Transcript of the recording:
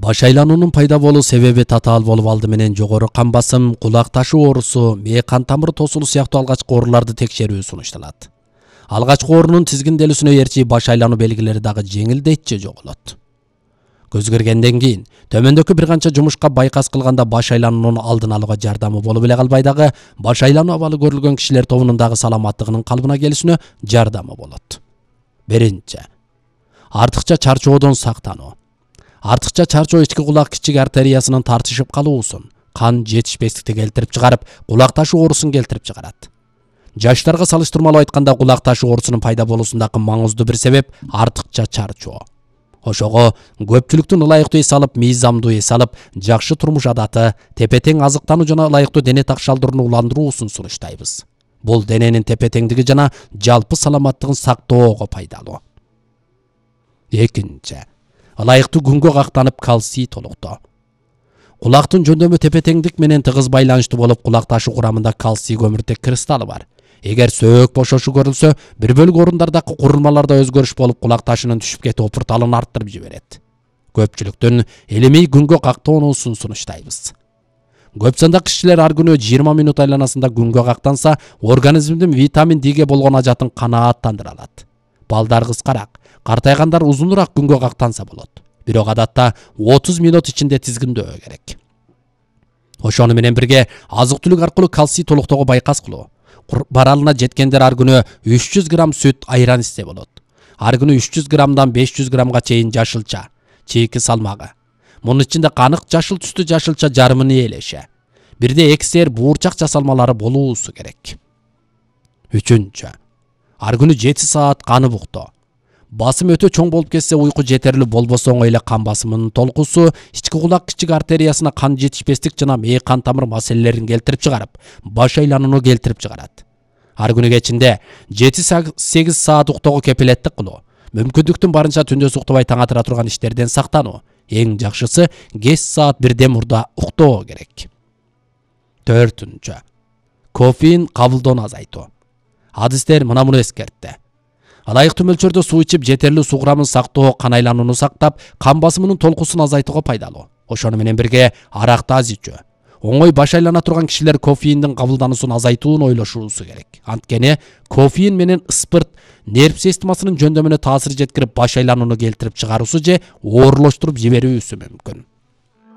Баш айлануунун пайда болуу себеби татаал болуп алды менен жогору кан басым, кулак ташы оорусу, мээ кан тамыры тосулу сыяктуу алгачкы ооруларды текшерүү сунушталат. Алгачкы оорунун тизгинделүүсүнө ээрчи баш айлануу белгилери дагы жеңилдейт же жоголот. Көз көргөндөн кийин төмөндөгү бир канча жумушка байкас кылганда баш айлануунун алдын алууга жардамы болуп эле калбай дагы баш айлануу абалы көрүлгөн кишилер тобунун дагы саламаттыгынын калыбына келүүсүнө жардамы болот. Биринчи, артыкча чарчоодон сактануу. Артыкча чарчоо ички кулак кичик артериясынын тартышып калуусун, кан жетишпестикти келтирип чыгарып, кулак ташы оорусун келтирип чыгарат. Жаштарга салыштырмалуу айтканда кулак ташы оорусунун пайда болуусундагы маңыздуу бир себеп артыкча чарчоо. Ошого көпчүлүктүн ылайыктуу эс алып, мыйзамдуу эс алып, жакшы турмуш адаты, тепе-тең азыктануу жана ылайыктуу дене такшалдырууну уландыруусун сунуштайбыз. Бул дененин тепе-теңдиги жана жалпы саламаттыгын сактоого пайдалуу. Экинчи, ылайыктуу күнгө кактанып калций толуктоо. Кулактын жөндөмү тепе-теңдик менен тыгыз байланыштуу болуп, кулак ташы курамында калций көмүртек кристаллы бар. Эгер сөөк бошошу көрүлсө, бир бөлүк орундардагы курулмаларда өзгөрүш болуп, кулак ташынын түшүп кетүү опурталын арттырып жиберет. Көпчүлүктүн илимий күнгө кактоонусун сунуштайбыз. Көп сандагы кишилер ар күнү 20 мүнөт айланасында күнгө кактанса, организмдин витамин Д'ге болгон ажатын канааттандыра алат. Балдар кыскараак, картайгандар узунураак күнгө кактанса болот. Бирок адатта 30 мүнөт ичинде тизгиндөө керек. Ошону менен бирге азык-түлүк аркылуу калций толуктоого байкас кылуу. Баралына жеткендер ар күнү 300 грамм сүт, айран ичсе болот. Ар күнү 300 граммдан 500 граммга чейин жашылча, чийки салмагы. Мунун ичинде канык жашыл түстүү жашылча жарымын ээлеше. Бирде эксер буурчак жасалмалары болуусу керек. Үчүнчү, ар күнү 7 саат канып уктоо. Басым өтө чоң болуп кетсе, уйку жетерлүү болбосо оңой эле кан басымынын толкусу, ички кулак кичик артериясына кан жетишпестик жана мээ кан тамыр маселелерин келтирип чыгарып, баш айланууну келтирип чыгарат. Ар күнү кечинде 7-8 саат уктоого кепилеттик кылуу, мүмкүндүктүн барынча түндөс уктабай таң атыра турган иштерден сактануу. Эң жакшысы кеч саат бирден мурда уктоо керек. Төртүнчү, кофеин кабылдоону азайтуу. Адистер муну эскертти. Ылайыктуу мөлчөрдө суу ичип, жетерлүү суу курамын сактоо кан айланууну сактап, кан басымынын толкусун азайтууга пайдалуу. Ошону менен бирге аракты аз ичүү. Оңой баш айлана турган кишилер кофеиндин кабылдануусун азайтууну ойлошуусу керек. Анткени кофеин менен ыспырт нерв системасынын жөндөмүнө таасир жеткирип, баш айланууну келтирип чыгаруусу же оорлоштуруп жиберүүсү мүмкүн.